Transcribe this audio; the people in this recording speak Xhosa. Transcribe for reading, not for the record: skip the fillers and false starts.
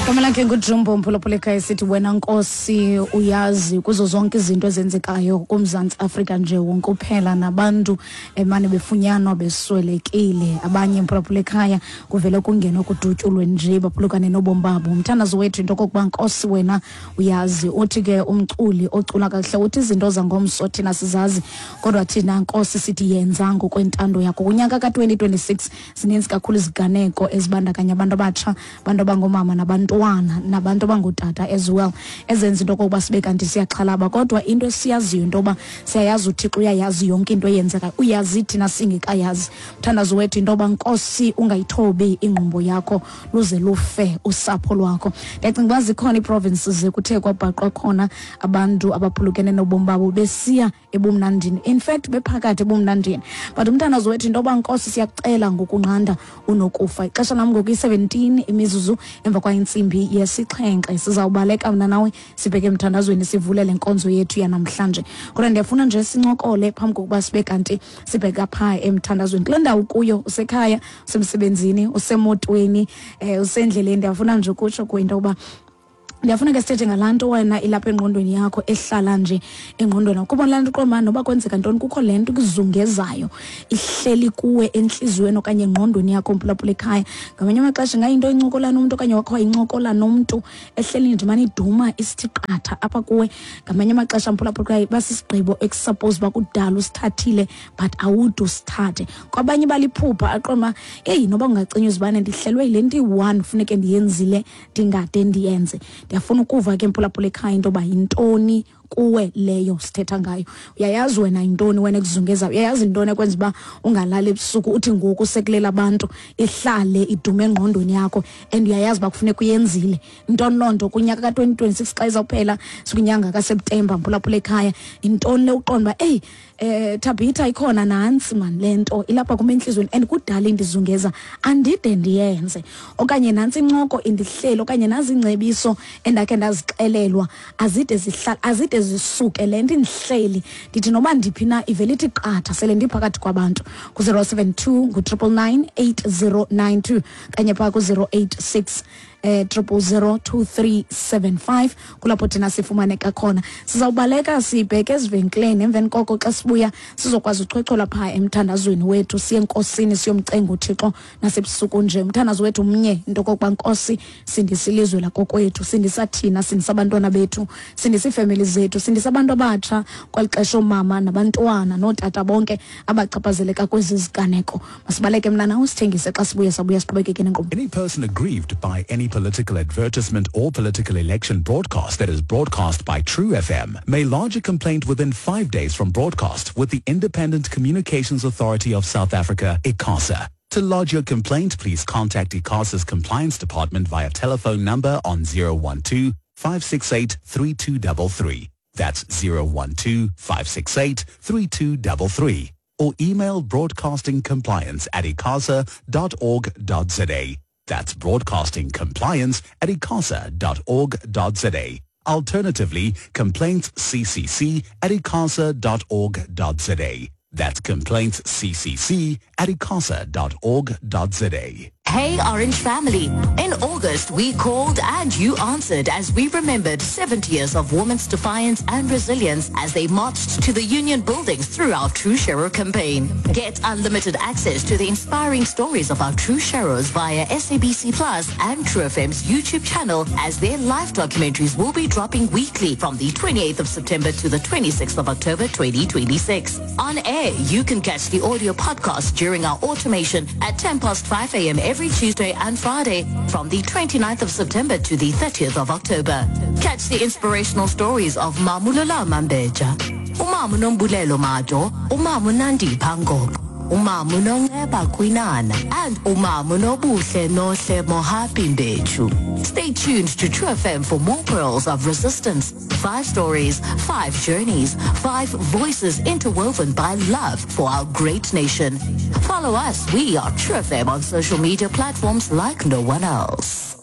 Igama lakhe nguJumbo, mphulaphula, esithi wena Nkosi uyazi kuzo zonke izinto ezenzekayo kuMzantsi Afrika nje wonke uphela, nabantu emane befunyanwa beswelekile. Abanye, mphulaphula ekhaya, kuvele kungenwe kudutyulwe nje, baphulukane nobomi babo. Umthandazo wethu into okokuba, Nkosi, wena uyazi. Uthi ke umculi ocula kakuhle, uthi izinto zangomso thina sizazi, kodwa thina, Nkosi, sithi yenza ngokwentando yakho. Kunyaka ka-2026 zininzi kakhulu iziganeko ezibandakanya abantu abatsha, abantu abangoomama nabantwana nabantu abangootata as well, ezenza into okokuba sibe kanti siyaxhalaba. Kodwa into esiyaziyo into yoba siyayazi uThixo uyayazi yonke into eyenzekayo, uyazi thina singekayazi. Mthandazo wethu into yoba, Nkosi, ungayithobi ingqumbo yakho luze lufe usapho lwakho. Ndiyacinga uba zikhona ii-provinces kuthe kwabhaqwa khona abantu abaphulukene nobomi babo besiya ebumnandini, in fact bephakathi ebumnandini. But umthandazo wethu into yoba, Nkosi, siyakucela ngokunqanda unokufa. Ixesha lam ngoku i-17 imizuzu emva kwayintsimbi yesixhenxe. Sizawubaleka mna nawe sibheke emthandazweni, sivule le nkonzo yethu yanamhlanje. Kodwa ndiyafuna nje sincokole phambi kokuba sibe kanti sibheka phaa emthandazweni. Kule ndawo kuyo, usekhaya, usemsebenzini, usemotweni, usendleleni, ndiyafuna nje ukutsho kuwe into yokuba ndiyafuna ke sithethe ngalaa nto wena ilapha engqondweni yakho, ehlala nje engqondweni. Kuba laa nto uqonda noba kwenzeka ntoni, kukho le nto ikuzungezayo, ihleli kuwe entliziyweni okanye engqondweni yakho, mphulaphula ekhaya. Ngamanye amaxesha ingayinto incokola nomntu okanye wakho wayincokola nomntu, ehleli nje mane iduma isithi qatha apha kuwe. Ngamanye amaxesha, mphulaphula ekhaya, basisigqibo ekusuppose uba kudala usithathile but awude usithathe. Kwabanye baliphupha, aqonda uba eyi, noba kungacinywa izibane, ndihlelwe yile nto iyi-one funeke ndiyenzile, ndingade ndiyenze. Ndiyafuna ukuva ke, mphulaphula ekhaya, into yoba yintoni kuwe leyo sithetha ngayo. Uyayazi wena yintoni wena ekuzungezayo? Uyayazi yintoni ekwenza uba ungalali ebusuku, uthi ngoku sekulela abantu ihlale idume engqondweni yakho, and uyayazi uba kufuneka uyenzile? Ntoni loo nto kunyaka ka-2026 xa izawuphela, sikwinyanga kaSeptemba, mphulaphula ekhaya? Yintoni le uqonda uba eyi, Tabitha, ikhona nantsi man le nto ilapha kum entliziyweni and kudala indizungeza, andide ndiyenze? Okanye nantsi incoko indihleli, okanye nazi iingcebiso endakhe ndazixelelwa, azide zihlala, azide zisuke le nto indihleli. Ndithi noba ndiphi na, ivele ithi qatha sele ndiphakathi kwabantu. Ku-072 ngu-999 8092 kanye phaa ku-086 0002375, kulapho thina sifumaneka khona. Sizawubaleka sibheke ezivenkileni. Emveni koko xa sibuya sizokwazi uchwechwela phaa emthandazweni wethu, siye enkosini, siyomcenga uThixo nasebusuku nje. Umthandazo wethu mnye, into okokuba, Nkosi, sindisa ilizwe lakokwethu, sindisa thina, sindisa abantwana bethu, sindisa iifemeli zethu, sindisa abantu abatsha kweli xesha, oomama nabantwana nootata bonke abachaphazeleka kwezi ziganeko. Masibaleke mna nawe sithengise. Xa sibuye, sabuya siqhubekeke nenkqubo. Any person aggrieved by any political advertisement or political election broadcast that is broadcast by True FM may lodge a complaint within 5 days from broadcast with the Independent Communications Authority of South Africa, ICASA. To lodge your complaint, please contact ICASA's compliance department via telephone number on 012 568 3233. That's 012 568 3233. Or email broadcastingcompliance@icasa.org.za. That's broadcastingcompliance@icasa.org.za. Alternatively, complaintsccc@icasa.org.za. That's complaintsccc@icasa.org.za. Hey, Orange family. In August, we called and you answered as we remembered 70 years of women's defiance and resilience as they marched to the union buildings through our True Shero campaign. Get unlimited access to the inspiring stories of our True Sheroes via SABC Plus and True FM's YouTube channel, as their live documentaries will be dropping weekly from the 28th of September to the 26th of October 2026. On air, you can catch the audio podcast during our automation at 10 past 5 a.m. every Tuesday and Friday from the 29th of September to the 30th of October. Catch the inspirational stories of Mamulula Mambeja, Umamu Nombulelo Majo, Umamu Nandi Pango, Umamu Nonceba Kwinana, and Umamu Nobuhle Nohle Mohapi Mbechu. Stay tuned to True FM for more pearls of resistance. Five stories, five journeys, five voices interwoven by love for our great nation. Follow us. We are True FM on social media platforms like no one else.